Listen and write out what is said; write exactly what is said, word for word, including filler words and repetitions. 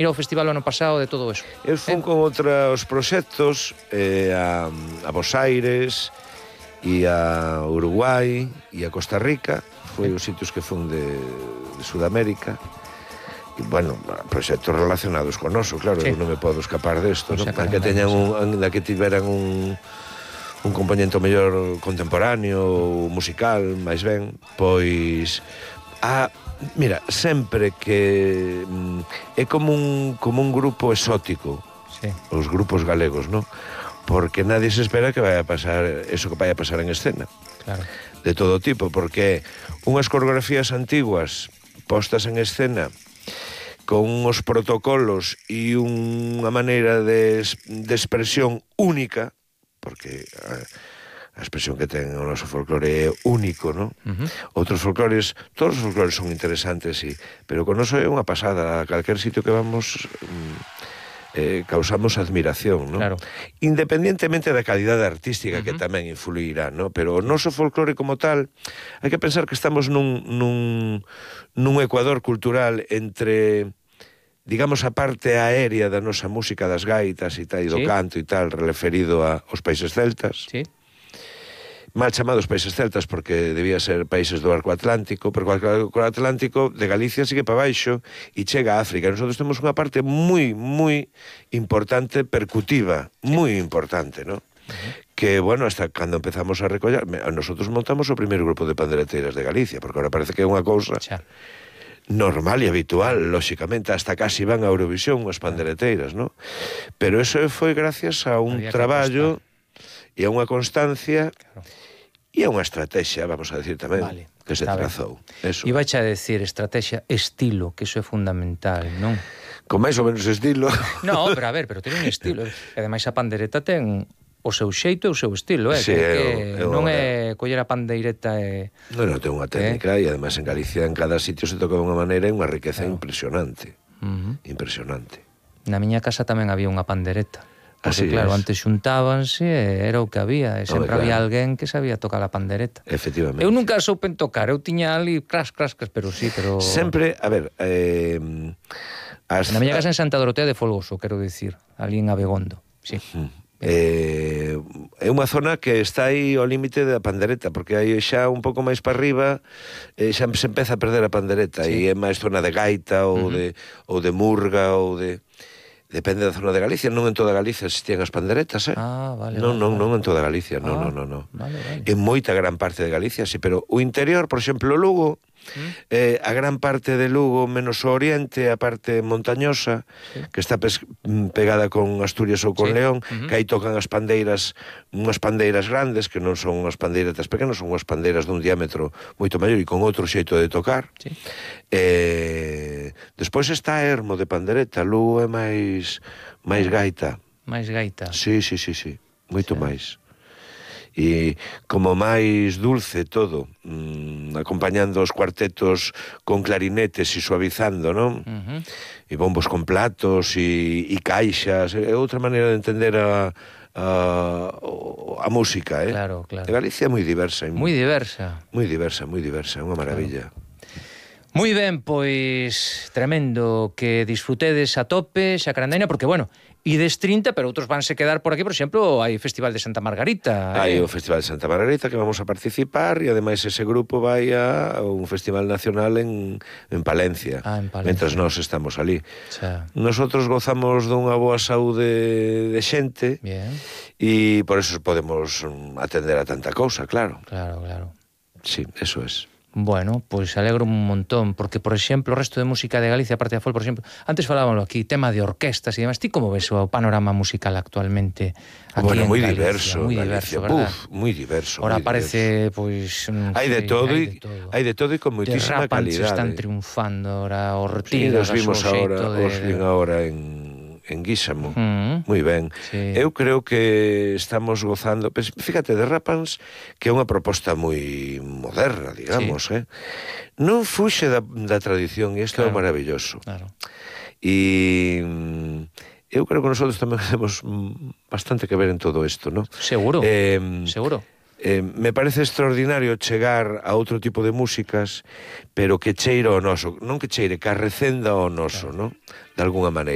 ir ao festival o ano pasado de todo eso. Eu fun eh? con outros proxectos eh, a, a Bos Aires e a Uruguai e a Costa Rica, foi os sitios que fun de, de Sudamérica. E, bueno, proxectos relacionados con noso, claro, sí. Eu non me podo escapar desto, non? Que teñan un, que tiveran un un componente mellor contemporáneo, musical, máis ben, pois a mira, sempre que mm, é como un como un grupo exótico, sí. Os grupos galegos, non? Porque nadie se espera que vaya a pasar eso que vaya a pasar en escena. Claro. De todo tipo, porque unhas coreografías antiguas postas en escena con uns protocolos e unha maneira de, de expresión única, porque a, a expresión que ten o noso folclore é único, non? Uh-huh. Outros folclores, todos os folclores son interesantes, sí, pero con noso é unha pasada. A calquer sitio que vamos eh, causamos admiración, non? Claro. Independientemente da calidade artística, uh-huh. que tamén influirá, non? Pero o noso folclore como tal, hai que pensar que estamos nun, nun, nun ecuador cultural entre, digamos, a parte aérea da nosa música, das gaitas e tal, e do sí. canto e tal, referido aos países celtas. Sí. Mal chamados países celtas porque debía ser países do arco atlántico, pero o arco atlántico de Galicia sigue para baixo e chega a África. Nosotros temos unha parte moi, moi importante, percutiva, sí. moi importante, ¿no? Uh-huh. Que, bueno, hasta cando empezamos a recoller, nosotros montamos o primeiro grupo de pandereteiras de Galicia, porque ahora parece que é unha cousa xa. normal e habitual, lóxicamente, hasta casi van a Eurovisión as pandereteiras, ¿no? Pero eso foi gracias a un Había traballo e a unha constancia, claro. E a unha estrategia, vamos a decir tamén, vale, que se trazou. E vai a decir estrategia, estilo, que iso é fundamental, non? Con máis ou menos estilo. No, pero a ver, pero ten un estilo. E ademais a pandereta ten o seu xeito e o seu estilo, eh? Sí, que, que eu, eu, non é coller a pandeireta e... Non, non, ten unha técnica, eh? E ademais en Galicia, en cada sitio se toca de unha maneira e unha riqueza claro. impresionante. Uh-huh. Impresionante. Na miña casa tamén había unha pandereta. Porque, así claro, es. antes xuntábanse e era o que había. E sempre Home, claro. había alguén que sabía tocar a pandereta. Efectivamente. Eu nunca soupen tocar. Eu tiña ali cras, cras, cras, pero sí, pero... Sempre, a ver... Eh, as... Na miña casa en Santa Dorotea de Folgoso, quero dicir. Ali en Abegondo. Sí. Uh-huh. Eh, é unha zona que está aí ao límite da pandereta, porque aí xa un pouco máis para arriba eh, xa se empeza a perder a pandereta, sí. E é máis zona de gaita ou, uh-huh. de, ou de murga ou de... Depende da zona de Galicia, non en toda Galicia existían as panderetas, eh? Ah, vale, non, vale, non, vale. non en toda Galicia, non, ah, non, non, non. Vale, vale. En moita gran parte de Galicia, sí, pero o interior, por exemplo, Lugo, ¿Mm? eh, a gran parte de Lugo, menos o oriente, a parte montañosa, sí. que está pes- pegada con Asturias ou con sí. León, uh-huh. que aí tocan as pandeiras, unhas pandeiras grandes, que non son unhas pandeiretas pequenas, son unhas pandeiras dun diámetro moito maior e con outro xeito de tocar. Sí. Eh, despois está Ermo de pandereta, Lugo é máis máis gaita. máis gaita. Sí, sí, sí, sí, moito sí. máis. E como máis dulce todo, mmm, acompañando os cuartetos con clarinetes e suavizando, non? Uh-huh. E bombos con platos e, e caixas, é outra maneira de entender a, a, a música, eh? Claro, claro. De Galicia é moi diversa. Moi diversa. Moi diversa, moi diversa, é unha maravilla. Claro. Moi ben, pois tremendo que disfrutedes a tope, Xacarandaina, porque, bueno, ides trinta, pero outros vanse quedar por aquí, por exemplo, hai o Festival de Santa Margarita. Hai eh? o Festival de Santa Margarita que vamos a participar e ademais ese grupo vai a un festival nacional en, en Palencia, ah, en Palencia, mentras nós estamos ali. Xa. Nosotros gozamos dunha boa saúde de xente e por eso podemos atender a tanta cousa, claro. Claro, claro. Sí, eso es. Bueno, pois pues alegro un montón, porque, por exemplo, o resto de música de Galicia, aparte da folk, por exemplo, antes falábamos aquí, tema de orquestas e demás, ti como ves o panorama musical actualmente aquí bueno, en moi Galicia? diverso, moi Galicia, diverso, verdad? Uf, moi diverso. Ora moi parece, pois... Pues, hai de todo e hai de todo e con moitísima calidade. Están triunfando, ora Ortigas, sí, vimos agora, de... os vin agora en en Guísamo, uh-huh. moi ben. Sí. Eu creo que estamos gozando, pues, fíjate, de Rapans, que é unha proposta moi moderna, digamos, sí. eh? Non fuxe da, da tradición, e isto claro. É maravilloso. Claro. E eu creo que nosotros tamén temos bastante que ver en todo isto, ¿no? Seguro, eh, seguro. Eh, me parece extraordinario chegar a outro tipo de músicas, pero que cheira ao noso, non que cheire, que arrecenda ao noso, claro. Non? De alguna maneira.